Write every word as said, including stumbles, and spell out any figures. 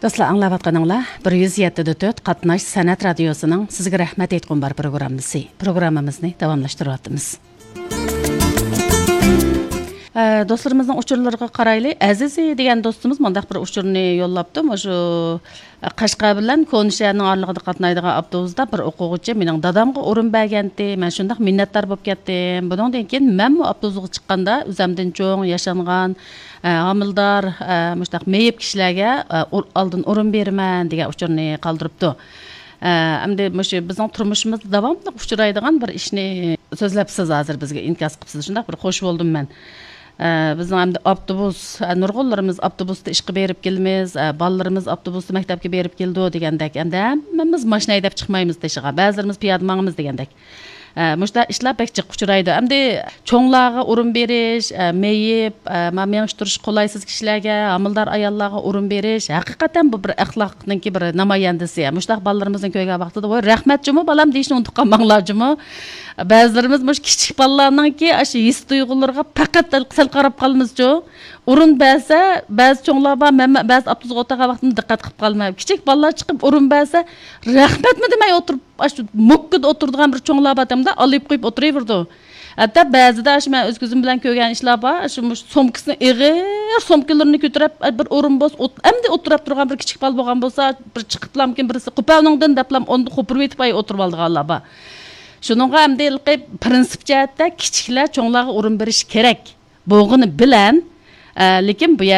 دوستلار، ئاڭلاۋاتقىنىڭلار بىر يۈز يەتتە دە تۆت قاتناش سەنئەت رادىيوسىنىڭ سىزگە رەھمەت ئېيتقۇم بار پروگراممىسى. پروگراممىمىزنى داۋاملاشتۇرۇۋاتىمىز. ئە، دوستلىرىمىزنىڭ ئۇچۇرلىرىغا قارايلى. ئەزىزى دېگەن دوستىمىز مۇنداق بىر ئۇچۇرنى يوللاپتۇ. مۇشۇ، ئە، قەشقەر بىلەن كونىشەھەرنىڭ ئارىلىقىدا قاتنايدىغان ئاپتوبۇستا بىر ئوقۇغۇچى مېنىڭ دادامغا ئورۇن بەرگەنتى. مەن شۇنداق مىننەتدار بولۇپ كەتتىم. بۇنىڭدىن كېيىن مەنمۇ ئاپتوبۇسقا چىققاندا ئۆزەمدىن چوڭ، ياشانغان، ئە، ھامىلىدار، ئە، مۇشۇنداق مېيىپ كىشىلەرگە، ئە، ئۇر-، ئالدىن ئورۇن بېرىمەن دېگەن ئۇچۇرنى قالدۇرۇپتۇ. ئە، ئەمدى مۇشۇ بىزنىڭ تۇرمۇشىمىزدا داۋاملىق ئۇچرايدىغان بىر ئىشنى سۆزلەپسىز ھازىر، بىزگە ئىنكاس قىپسىز. شۇنداق بىر خوش بولدۇم مەن. ئە، بىزنىڭ ئەمدى ئاپتوبۇس، ئە، نۇرغۇنلىرىمىز ئاپتوبۇستا ئىشقا بېرىپ كېلىمىز، ئە، بالىلىرىمىز ئاپتوبۇستا مەكتەپكە بېرىپ كېلىدۇ دېگەندەك. ئەمدى ھەممىمىز ماشىنا ھەيدەپ چىقمايمىز تېشىغا. بەزىلىرىمىز پىيادە ماڭىمىز دېگەندەك. ئە، مۇشۇنداق ئىشلار بەك جىق ئۇچرايدۇ. ئەمدى چوڭلارغا ئورۇن بېرىش، ئە، مېيىپ، ئە، ما-، مېڭىش تۇرۇش قولايسىز كىشىلەرگە، ھامىلىدار ئاياللارغا ئورۇن بېرىش، ھەقىقەتەن بۇ بىر ئەخلاقنىڭكى بىر نامايەندىسى. مۇشۇنداق بالىلىرىمىزنى كۆرگەن ۋاقتىدا، ۋاي، رەھمەت جۇمۇ، بالام، دېيىشنى ئۇنتۇپ قالماڭلار جۇمۇ. بەزىلىرىمىز مۇشۇ كىچىك بالىلارنىڭكى ئاشۇ ھېس تۇيغۇلىرىغا پەقەت سەل قاراپ قالىمىزچۇ. ئورۇن بەرسە، بەزى چوڭلار بار، مەن بەزى ئاپتوبۇسقا ئولتۇرغان ۋاقتىمدا دىققەت قىلىپ قالىمەن. كىچىك بالىلار چىقىپ ئورۇن بەرسە، رەھمەتمۇ دېمەي ئولتۇرۇپ، ئاشۇ موككىدا ئولتۇرىدىغان بىر چوڭلار بار، دەمدە ئالايىپ قويۇپ ئولتۇرۇۋېرىدۇ. ھەتتا بەزىدە ئاشۇ مەن ئۆز كۆزۈم بىلەن كۆرگەن ئىشلار بار، ئاشۇ مۇشۇ سومكىسىنى، ئېغىر سومكىلىرىنى كۆتۈرۈپ، بىر ئورۇن بولسا ئوت-، ئەمدى ئولتۇراپ تۇرغان بىر كىچىك بالا بولغان بولسا، بىر چىقىپلامكىن بىرسى، قوپالنىڭدىن دەپلام ئۇنى قوپۇرۇۋېتىپ ئولتۇرۇۋالىدىغانلار بار. شۇنىڭغا ئەمدى ھېلىقى پرىنسىپ جەھەتتە كىچىكلەر چوڭلارغا ئورۇن بېرىشى كېرەك. بولغىنى بىلەن، ئە، لېكىن بۇ